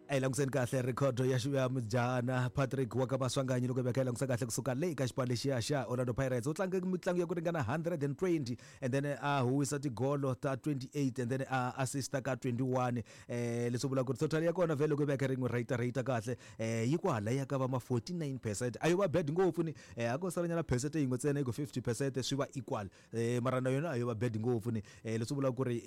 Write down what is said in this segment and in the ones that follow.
A hi languseni kahle rhekhodo ya ya mujahana Patrick wa ka Maswanganyi loko hi va kha hi langusa kahle kusuka le ka xipano lexiya xa Orlando Pirates. U tlange mitlangu ya ku ringana 120 and then a huwisa tigolo ta 28 and then a assista ka 21. Leswi vulaka ku ri total ya kona vhele loko hi va kha ri n'wi rate rate kahle yi kwala ya ka va ma 49%. A yo va bad ngopfu ni a ko salanyana percent yin'we ntsena yi ku 50% swi va equal. Mara na yona a yo va bad ngopfu ni. Leswi vulaka ku ri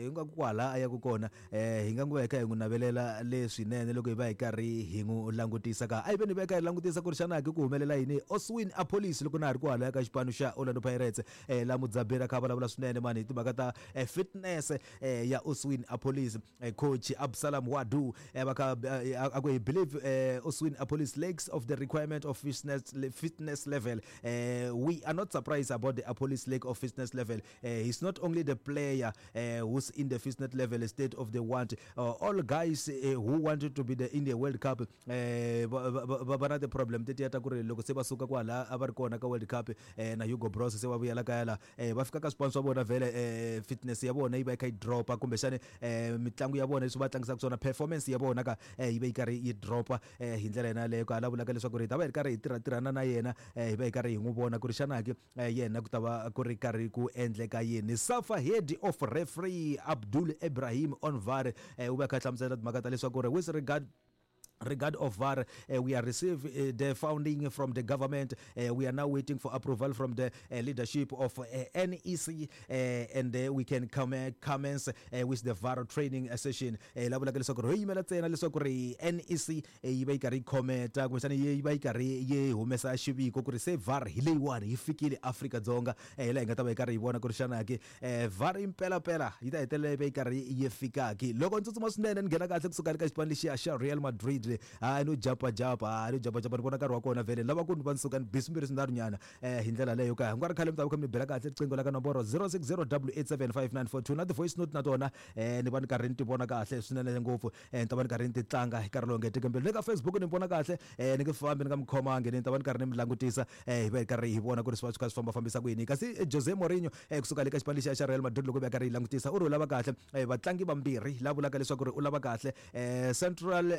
ingaku kwala a yaka kona hi nga ngo hi kha hi n'wi navelela leswinene loko hi va hi karhi hi n'wi langutisa ka. A hi veni hi va hi kha hi langutisa ku ri xana ke ku humelela yini Oswin Appollis loko na ha ri kwalaya ka xipano xa Orlando Pirates. La Mudzaberi a kha a vulavula swinene mani hi timhaka ta fitness ya Oswin Appollis. Coach Absalam Wadu va kha a ku he believe Oswin Appollis lacks of the requirement of fitness level. We are not surprised about the Appollis lack of fitness level. He's not only the player who's in the fitness level state of the want. All guys who wanted to be the in the World Cup va na ti-problem tetiya ta ku ri loko se va suka kwala a va ri kona ka World Cup na Hugo Broos se va vuyela kaya la va fika ka swipano swa vona vhele fitness ya vona yi va yi kha yi drop-a kumbexani mitlangu ya vona leswi va tlangisaka swona performance ya vona ka yi va yi karhi yi drop-a hi ndlela yona yaleyo. Ka la vulaka leswaku ri hi ta va hi ri karhi hi tirhatirhana na yena hi va hi karhi hi n'wi vona ku ri xana ke yena ku ta va ku ri karhi ku endleka yini. Safa head of referee Abdul Ebrahim on VAR u va a kha a hlamusela timhaka ta leswaku ri with regard of VAR, we are received the funding from the government. We are now waiting for approval from the leadership of NEC, and we can commence with the VAR training session. La vulaka leswaku ri ho yimela ntsena leswaku ri NEC yi va yi karhi yi khometa kumbexana yi va yi karhi yi humesa xiviko ku ri se VAR hi leyiwani yi fikile Afrika-Dzonga. Hi laha hi nga ta va hi karhi hi vona ku ri xana ke VAR impelapela yi ta hetelela yi va yi karhi yi fika ke. Loko ni tsutsuma swinene ni nghena kahle kusuka le ka xipano lexiya xa Real Madrid le, hayi no japajapa, hayi no japajapa ni vona nkarhi wa kona vhele ni lava ku ni va ni suka ni bi swimbirhi swinharhu nyana hi ndlela leyo ka. Ku nga ri khale mi ta va kha mi ni bela kahle riqingho la ka nomboro 0608875942 na ti-voice note na tona ni va ni karhi ni ti vona kahle swinene ngopfu. Ni ta va ni karhi ni ti tlanga hi nkarhi lowu nge teki mbilu. Le ka Facebook ni vona kahle ni nge fambi ni nga mi khomangi, ni ta va ni karhi ni mi langutisa hi va hi karhi hi vona ku ri swi va swi kha swi fambafambisa ku yini. Kasi Jose Mourinho kusuka le ka xipano lexiya xa Real Madrid loko va karhi yi langutisa u ri u lava kahle vatlangi vambirhi la vulaka leswaku ri u lava kahle central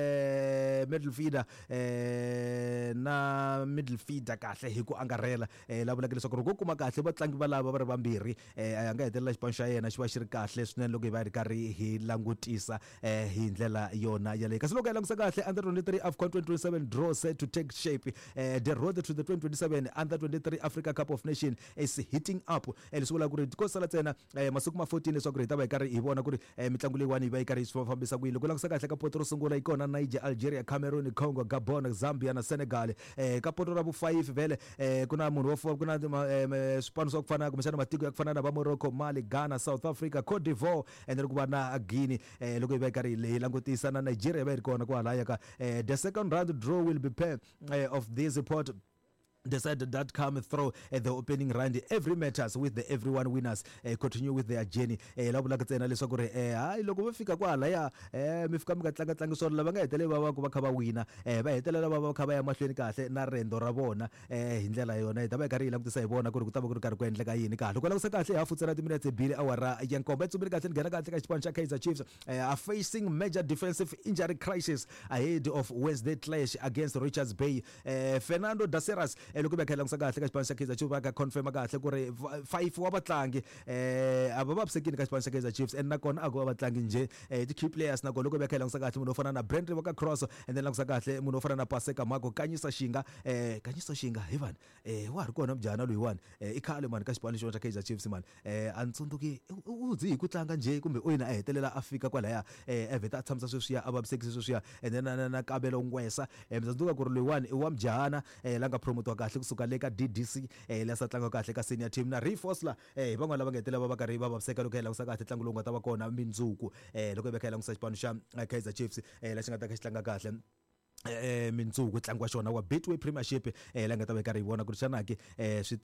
midfielder na midfielder kahle hi ku angarhela la vulaka leswaku ri ko kuma kahle vatlangi valava va ri vambirhi a nga hetelela xipano xa yena xi va xi ri kahle swinene loko hi va hi ri karhi hi langutisa hi ndlela yona yaleyo. Kasi loko hi langutisa kahle under 23 AFCON 2027 draw set to take shape. The road to the 2027 under 23 Africa Cup of Nation is heating up. Leswi vulaka ku ri ko sala ntsena masiku ma 14 leswaku ri hi ta va hi karhi hi vona ku ri mitlangu leyiwani yi va yi karhi yi fambisa ku yini. Loko langutisa kahle ka poto ro sungula yi kona Niger, Algeria, Cameroon, Congo, Gabon, Zambia na Senegal. Ka poto ra vu 5 vhele ku na munhu wo ku na swipano swa ku fana kumbexana matiko ya ku fana na va Morocco, Mali, Ghana, South Africa, Cote d'Ivoire and then ku va na Guinea. Loko hi va hi karhi hi langutisa na Nigeria va yi ri kona kwalaya ka the second round draw will be pair of this pot decided that come through the opening round. Every matters with the everyone winners continue with their journey. La vulaka ntsena leswaku ri hayi loko va fika kwalaya mi fika mi nga tlanga tlangi swona, lava nga hetelela va va ku va kha va wina va hetelela va va kha va ya mahlweni kahle na riendzo ra vona hi ndlela yona. Hi ta va hi karhi hi langutisa hi vona ku ri ku ta va ku ri karhi ku endleka yini kahle. Loko langutisa kahle hafu ntsena timinetse bili awara ya nkombo yi tsumbile kahle ni nghena kahle ka xipano xa Kaizer Chiefs are facing major defensive injury crisis ahead of Wednesday clash against Richards Bay. Fernando Daceras loko va kha langutisa kahle ka xipano xa Kaizer Chiefs va ka confirm kahle ku ri 5 wa vatlangi a va vavisekile ka xipano xa Kaizer Chiefs and nakona a ko va vatlangi njhe ti key players. Nakona loko va kha langutisa kahle munhu wo fana na Brandley wa ka Cross and then langutisa kahle munhu wo fana na Paseka Mako, Kanyisa Shinga Kanyisa Shinga hi vanhu wa ha ri kona mujahana loyiwani i khale mani ka xipano lexiwani xa Kaizer Chiefs mani a ni tsundzuki u ze hi ku tlanga njhe kumbe u yini a hetelela a fika kwalaya a vheta a tshamisa sweswiya a vavisekise sweswiya and then na Kabelo Ngwesa mi ta tsundzuka ku ri loyiwani i wa mujahana la nga promotiwa kahle kusuka le ka DDC la sa tlanga kahle ka senior team na Ray Fossler hi van'wana lava nga hetelela va va karhi va vaviseka loko hi langutisa kahle ntlangu lowu nga ta va kona mindzuku loko hi va kha hi langutisa xipano xa Kaizer Chiefs la xi nga ta kha xi tlanga kahle mindzuku ntlangu wa xona wa Betway Premiership la nga ta va yi karhi yi vona ku ri xana ke swi ta.